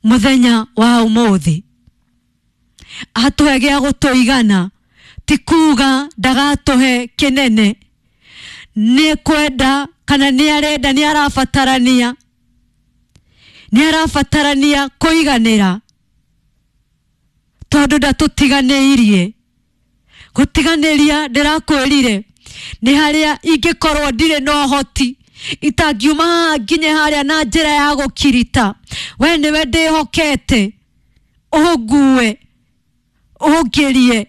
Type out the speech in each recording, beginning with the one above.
Mũthenya wa ũmũthĩ atũhe gĩa gũtũigana, ti kuga ndagatũhe kĩnene. Nĩ kwenda kana nĩ arenda, nĩ arabatarania, nĩ arabatarania kũiganĩra, tondũ ndatũtiganĩirie. Gũtiganĩria ndĩrakwĩrire nĩ harĩa ingĩkorwo ndirĩ na ũhoti, itangiuma haha nginye harĩa na njĩra ya gũkirita. We nĩwe ndĩhokete, ũngue ũngĩrie,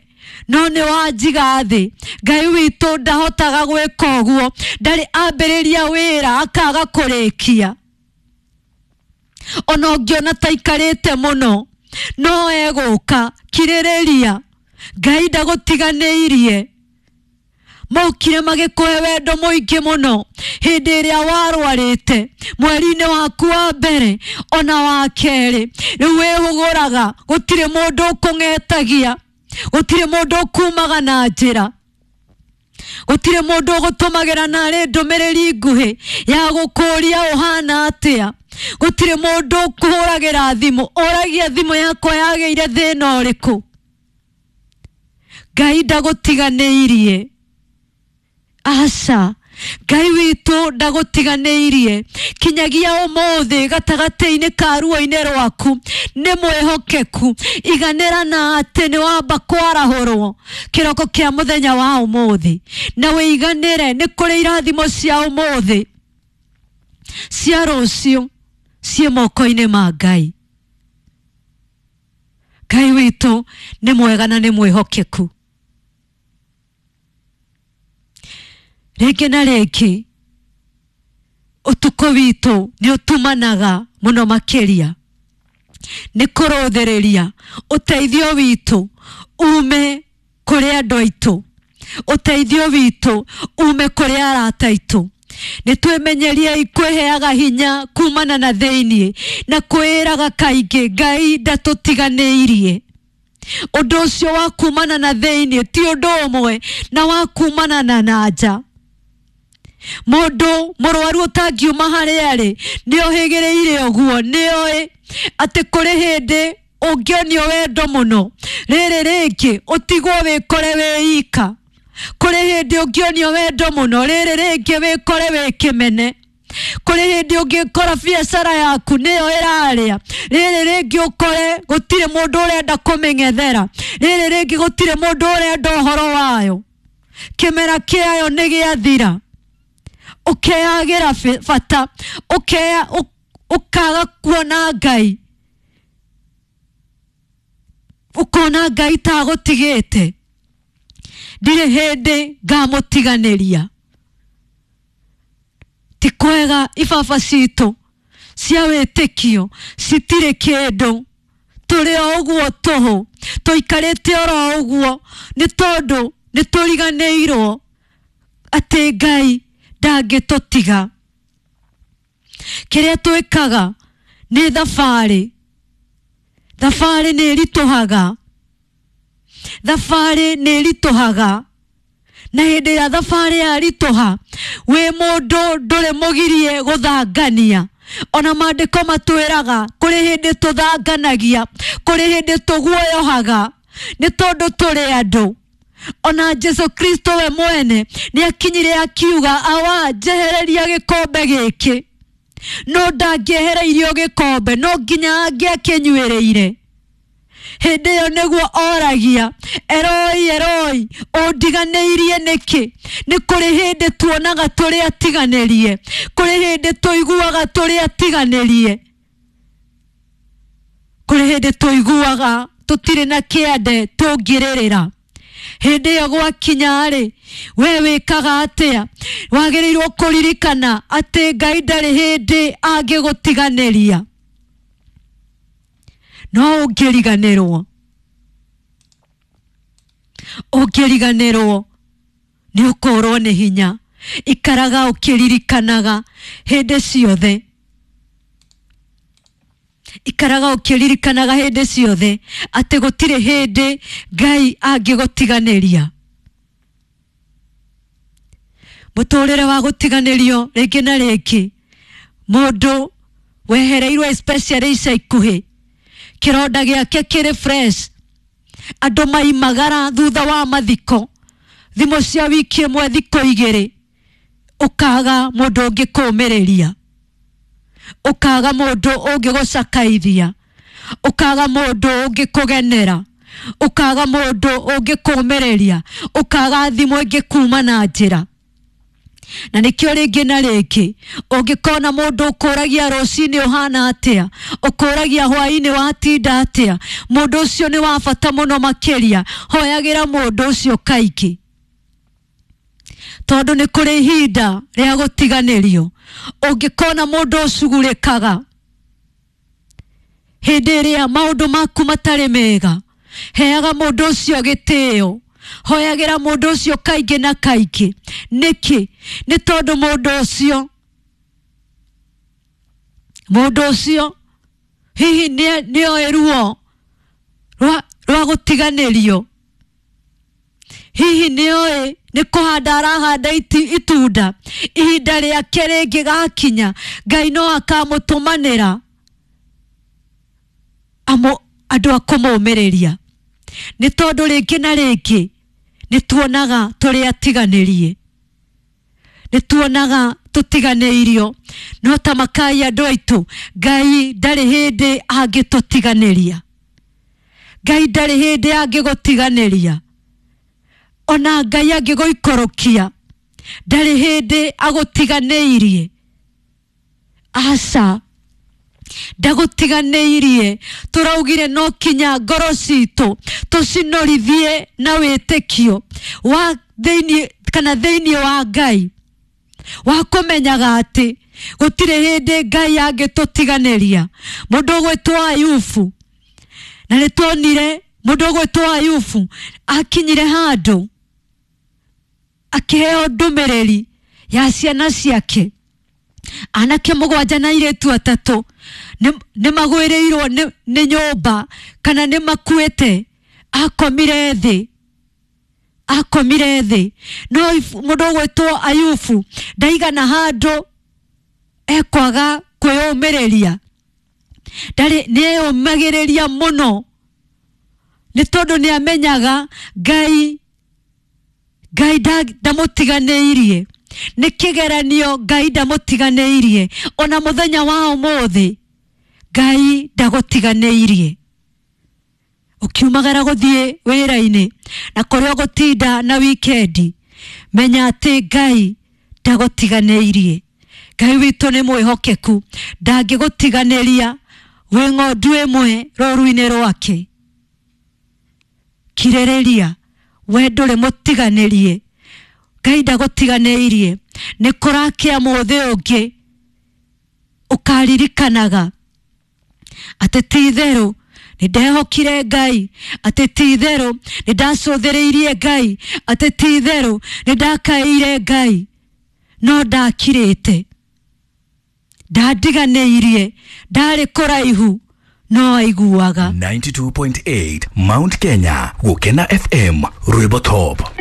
no nĩ wanjiga thĩ. Ngai witũ ndahotaga gwĩka ũguo, ndarĩ ambĩrĩria wĩra akaga kũrĩkia. Ona ũngĩona ta ikarĩte mũno, no egũka. Kirĩrĩria, Ngai ndagũtiganĩirie. Mokire magĩkũhe wendo mũingĩ mũno hĩndĩ ĩrĩa warwarĩte, mweri-inĩ waku wa mbere ona wa kerĩ. Rĩu wĩhũgũraga, gũtirĩ mũndũ ũkũng'etagia, gũtirĩ mũndũ ũkumaga na njĩra, gũtirĩ mũndũ ũgũtũmagĩra narĩ ndũmĩrĩri nguhĩ ya gũkũria ũhana atĩa, gũtirĩ mũndũ ũkũhũragĩra thimũ ũragia thimũ yakwa yagĩire thĩna ũrĩkũ. Ngai ndagũtiganĩirie, aca. Ngai witũ ndagũtiganĩirie kinyagia ũmũthĩ. Gatagatĩ-inĩ ka ruo-inĩ rwaku nĩ mwĩhokeku. Iganĩra na atĩ nĩ wamba kwarahũrwo kĩroko kĩa mũthenya wa ũmũthĩ, na wĩiganĩre nĩ kũrĩ irathimo cia ũmũthĩ, cia rũciũ ciĩ moko-inĩ ma Ngai. Ngai witũ nĩ mwega na nĩ mwĩhokeku. Rĩngĩ na rĩngĩ ũtukũ witũ nĩ ũtumanaga mũno makĩria, nĩ kũrũthĩrĩria ũteithio witũ ume kũrĩ andũ aitũ, ũteithio witũ ume kũrĩ arata aitũ. Nĩ twĩmenyeriei kwĩheaga hinya kumana na thĩiniĩ na kwĩraga kaingĩ Ngai ndatũtiganĩirie. Ũndũ ũcio wa kumana na thĩiniĩ ti ũndũ ũmwe na wa kumana na nja. Mũndũ mũrwaru ũtangiuma harĩa arĩ nĩ ohĩgĩrĩire ũguo, nĩ oĩ atĩ kũrĩ hĩndĩ ũngĩonio wendo mũno, rĩrĩ rĩngĩ ũtigwo wĩkore wĩ ika. Kũrĩ hĩndĩ ũngĩonio wendo mũno, rĩrĩ rĩngĩ wĩkore wĩ kĩmene. Kũrĩ hĩndĩ ũngĩkora biacara yaku nĩyo ĩrarĩa, rĩrĩ rĩngĩ ũkore gũtirĩ mũndũ ũrenda kũmĩng'ethera, rĩrĩ rĩngĩ gũtirĩ mũndũ ũrenda ũhoro wayo, kĩmera kĩayo nĩ gĩathira. Ũkeyagĩra bata, ũkeya ũkaga kuona Ngai, ũkona Ngai ta agũtigĩte. Ndirĩ hĩndĩ ngamũtiganĩria. Ti kwega ibaba citũ cia wĩtĩkio citirĩ kĩndũ, tũrĩ o ũguo tũhũ, tũikarĩte oro ũguo, nĩ tondũ nĩ tũriganĩirwo atĩ Ngai ndangĩtũtiga. Kĩrĩa twĩkaga nĩ thabarĩ, thabarĩ nĩ ĩritũhaga, thabarĩ nĩ ĩritũhaga. Na hĩndĩ ĩrĩa thabarĩ yaritũha, wĩ mũndũ ndũrĩ mũgirie gũthangania. Ona maandĩko matwĩraga kũrĩ hĩndĩ tũthanganagia, kũrĩ hĩndĩ tũguoyohaga, nĩ tondũ tũrĩ andũ. Ona Jesu Kristo we mwene nĩ akinyire akiuga, "Awa, njehereria gĩkombe gĩkĩ." No ndangĩehereirio gĩkombe, no nginya angĩakĩnyuĩrĩire. Hĩndĩ ĩyo nĩguo oragia, "Eroi, Eroi, ũndiganĩirie nĩkĩ?" Nĩ kũrĩ hĩndĩ tuonaga tũrĩ atiganĩrie, kũrĩ hĩndĩ tũiguaga tũrĩ atiganĩrie, kũrĩ hĩndĩ tũiguaga tũtirĩ na kĩande tũngĩrĩrĩra. Hĩndĩ ĩyo gwakinya-rĩ, we wĩkaga atĩa? Wagĩrĩirwo kũririkana atĩ Ngai ndarĩ hĩndĩ angĩgũtiganĩria. No ũngĩriganĩrwo, ũngĩriganĩrwo nĩ ũkũrwo nĩ hinya. Ikaraga ũkĩririkanaga hĩndĩ ciothe, ikaraga ũkĩririkanaga hĩndĩ ciothe atĩ gũtirĩ hĩndĩ Ngai angĩgũtiganĩria. Mũtũrĩre wa gũtiganĩrio rĩngĩ na rĩngĩ, mũndũ wehereirwo especially ica ikuhĩ. Kĩronda gĩake kĩrĩ fresh. Andũ maimagara thutha wa mathiko, thimũ cia wiki ĩmwe, thikũ igĩrĩ, ũkaga mũndũ ũngĩkũmĩrĩria, ũkaga mũndũ ũngĩgũcakaithia, ũkaga mũndũ ũngĩkũgenera, ũkaga mũndũ ũngĩkũmĩrĩria, ũkaga thimũ ĩngĩkuma na njĩra. Na nĩkĩo rĩngĩ na rĩngĩ ũngĩkona mũndũ ũkũragia rũcinĩ ũhana atĩa, ũkũragia hwainĩ watinda atĩa, mũndũ ũcio nĩ wa bata mũno makĩria. Hoyagĩra mũndũ ũcio kaingĩ, tondũ nĩ kũrĩ ihinda rĩa gũtiganĩrio. Ũngĩkona mũndũ ũcugurĩkaga hĩndĩ ĩrĩa maũndũ maku matarĩ mega, heaga mũndũ ũcio gĩtĩo, hoyagĩra mũndũ ũcio kaingĩ na kaingĩ. Nĩkĩ? Nĩ tondũ mũndũ ũcio hihi nĩoĩ ruo rwa gũtiganĩrio, hihi nĩoĩ nĩ kũhanda arahanda itunda, ihinda rĩake rĩngĩgakinya Ngai no akamũtũmanĩra andũ a kũmũmĩrĩria. Nĩ tondũ rĩngĩ na rĩngĩ nĩ tuonaga tũrĩ atiganĩrie, nĩ tuonaga tũtiganĩirio, no ta makai andũ aitũ, Ngai ndarĩ hĩndĩ angĩtũtiganĩria. Ngai ndarĩ hĩndĩ angĩgũtiganĩria. Ona Ngai angĩgũikũrũkia, ndarĩ hĩndĩ agũtiganĩirie. Aca, ndagũtiganĩirie. Tũraugire no kinya ngoro citũ tũcinorithie na wĩtĩkio wa thĩinĩ kana thĩinĩ wa Ngai, wa kũmenyaga atĩ gũtirĩ hĩndĩ Ngai angĩtũtiganĩria. Mũndũ ũgwĩtwo Ayubu, na nĩ tuonire mũndũ ũgwĩtwo Ayubu akinyire handũ akĩheo ndũmĩrĩri ya ciana ciake, anake 7 na airĩtu 3, nĩ magwĩrĩirwo nĩ nyũmba kana nĩ makuĩte. Akomire thĩ, akomire thĩ. No mũndũ ũgwĩtwo Ayubu ndaigana handũ ekwaga kwĩyũmĩrĩria, ndarĩ, nĩeyũmagĩrĩria mũno, nĩ tondũ nĩ amenyaga Ngai ndamũtiganĩirie. Nĩ kĩgeranio, Ngai ndamũtiganĩirie. Ona mũthenya wa ũmũthĩ Ngai ndagũtiganĩirie. Ũkiumagara gũthiĩ wĩra-inĩ na kũrĩa ũgũtinda na wikendi, menya atĩ Ngai ndagũtiganĩirie. Ngai witũ nĩ mwĩhokeku, ndangĩgũtiganĩria wĩ ng'ondu ĩmwe rũru-inĩ rwake. Kirĩrĩria, we ndũrĩ mũtiganĩrie. Ngai ndagũtiganĩirie. Nĩ kũrakĩa mũthĩ ũngĩ ũkaririkanaga atĩ ti itherũ nĩ ndehokire Ngai, atĩ ti itherũ nĩ ndacũthĩrĩirie Ngai, atĩ ti itherũ nĩ ndakaĩire Ngai, no ndakirĩte, ndandiganĩirie, ndarĩ kũraihu no aiguaga. 92.8 Mount Kenya, Gukena FM, Rwimbo Top.